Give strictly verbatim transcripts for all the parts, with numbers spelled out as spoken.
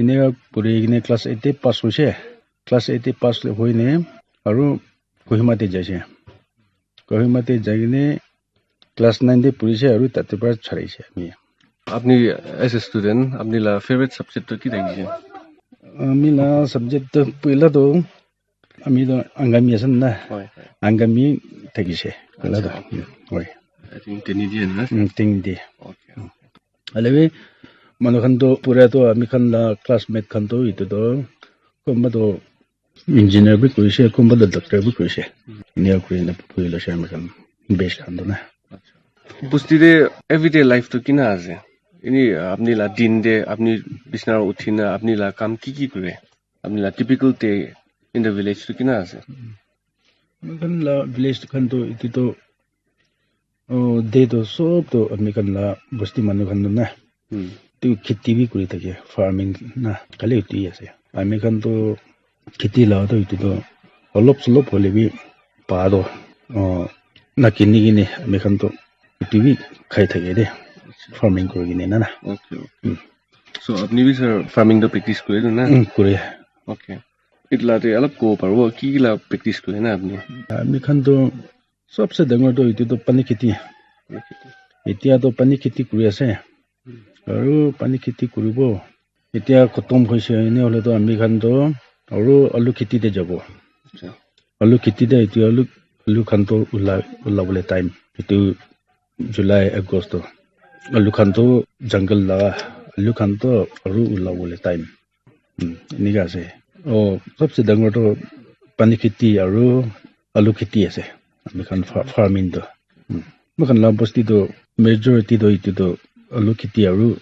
Eneka puri kene class eight te pass hoise. Class eight te pass hoine aru Kohima te jaise. Kohima te jai kene class nine te purise aru tate para chharise ami. Apni as a student, apni la favorite subject to ki thakise? Ami la subject to puila to ami to Angami ase na. Hoi, hoi. Angami thakise. Puila to. Acha. Hoi. I think tini di na. Mm, tini di. Okay. Hoilebi manu khan to pura to ami khan la classmate khan to itu to kunba to engineer bi kurise, kunba to doctor bi kurise. Enika kurina puri lase ami khan batch khan to na. Bosti te everyday life to kina ase? Ini apni la din te apni bisna uthina apni la kam ki ki kure? Apni la typical day in the village to kina ase? Ami khan la village khan to itu to Oh, day to sob to ami khan la bosti manu khan to na. Hmm. Tu kheti bi kuri thake, farming na, khali uti ase. Ami khan to kheti la to itu to olop solop hoile bi pa to, oh, na kini kini ami khan to itu bi khai thake de, farming kuri kene na na. Okay, okay. Hmm. So, apni bi sir farming to practice kure to na? Hmm, kure. Okay. Itla te alap ko paribo, ki ki la practice kure na apni? Ami khan to Sobse dangor toh etu toh pani kheti. Etia toh pani kheti kuri ase. Aru pani kheti kuribo. Etia khotom hoise ene hoile toh ami khan toh aru alu kheti te jabo. Acha. Alu kheti te etia alu, alu khan toh ula, ulabole time. Etu July, August toh. Alu khan toh jungle laga, alu khan toh aru ulabole time. Hmm, enika ase. Oh, sobse dangor toh pani kheti aru alu kheti ase. Ami khan fa-, farming toh. Hmm. Moi khan la bosti toh majority toh etu toh alu kheti aru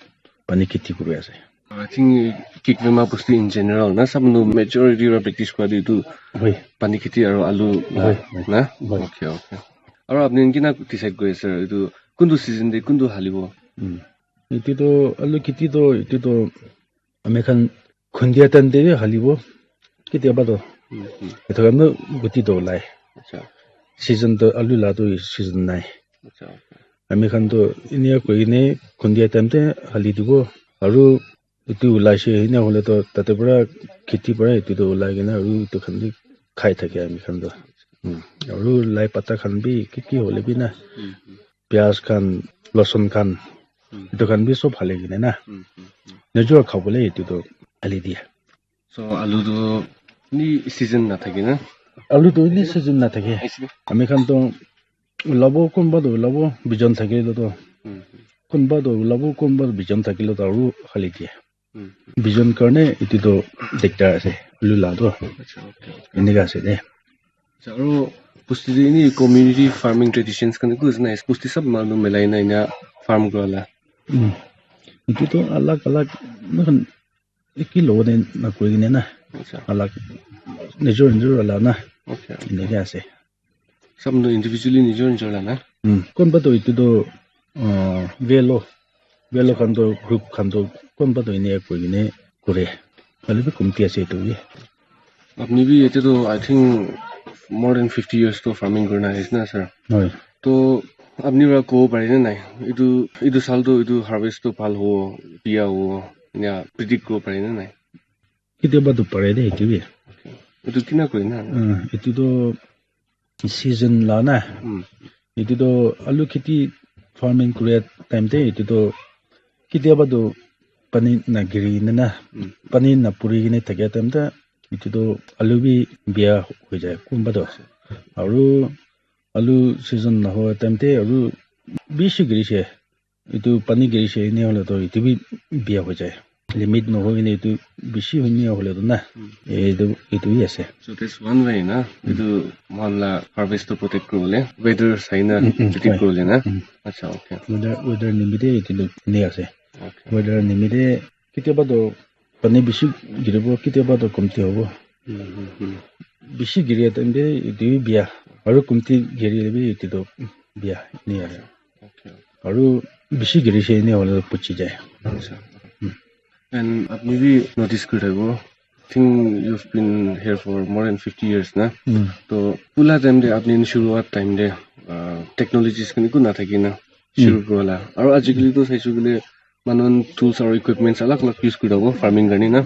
pani kheti kuri ase. I think Kikwema bosti in general na sab manu majority ra practice kura tu etu Hoi. Pani kheti aru alu la Hoi, hoi. Na? Hoi. Okay, okay. Aru apni khan kina decide kuri ase etu kuntu season te kuntu halibo? Hmm. Etu toh alu kheti toh etu toh ami khan khundia time te bi halibo, ketiaba toh. Hmm, hmm. Etu khan toh guti toh olai. Acha. Season toh alu la toh season nai. Acha, okay. Ami khan toh enika koi kene khundia time te hali dibo. Aru etu ulai se, enika hoile toh tate para kheti para etu toh ulai kene aru etu khan bi khai thake ami khan toh. Hmm. Aru lai pata khan bi ki ki hoile bi na. Hmm, hmm. Pyaj khan, lasun khan, Hmm. etu khan bi sob hali kene na. Hmm, hmm, hmm. Nijor khabole etu toh hali dia. So, alu tu ni season na thake na? Alu tu ni season na thake. Aise. Ami khan toh ulabo, kunba toh ulabo, bijon thakile toh. Hmm, hmm. Kunba toh ulabo, kunba toh bijon thakile toh aru hali dia. Hmm. Bijon karne etu toh diktar ase, alu la toh. Acha, okay, okay. Enika ase de. Acha, aru bosti te ini community farming traditions khan eku ase na, bosti sab manu milai na ena farm kura la. Hmm. Etu toh alag alag, moikhan eki logo te na kuri kene na. Acha. Alag, nijor nijor wala na. Okay. Enika ase. Sab manu individually nijor nijor la na. Hmm. Kunba toh etu toh, ah, velo, velo khan toh group khan toh kunba toh ene koi kene kore. Hoile bi komti ase etu bi. Apni bi yate toh, I think, more than fifty years toh farming kurina ahise na, sir? Hoi. Toh, apni para kobo pare na nai? Etu, etu saal toh, etu harvest toh bhal hobo, biya hobo, ena predict kuribo pare na nai? Ketiaba toh pare de, etu bi. Etu kina koi na? Ah, etu toh season la na. Hmm. Etu toh alu kheti farming kuri time te etu toh ketiaba toh pani na giri na na. Hmm. Pani na puri kene thakia time te etu toh alu bi biya hoi jai kunba toh. Aru alu season na hoa time te aru bishi giri se. Etu pani giri se ene hoile toh etu bi biya hoi jai. Limit nohoi kene etu bishi hoine hoile toh na. Hmm. Etu, etu hi ase. So that's one way na. Hmm. Etu moikhan la harvest to protect kuribole, weather sai na Hmm, hmm, predict hoi. Kuribole na. Hmm. Acha, okay. Weather, weather nimite etu toh ene ase. Okay. Weather nimite ketiaba toh pani bishi giribo, ketiaba toh komti hobo. Hmm, hmm, hmm. Bishi giri time te etu bi biya. Aru komti girile bi etu toh biya. Ene ase. Okay. Aru bishi giri se ene hoile puchi jai. Acha. Hmm. And apni bi notice kuri thakibo. Think you've been here for more than fifty years na. Hmm. To pula time te apni shuruat time te, ah, technologies khan eku na thaki na shuru Hmm. kurila. Aru ajikali to saishe koile manu khan tools aru equipments alag alag use kuri thabo farming karne na.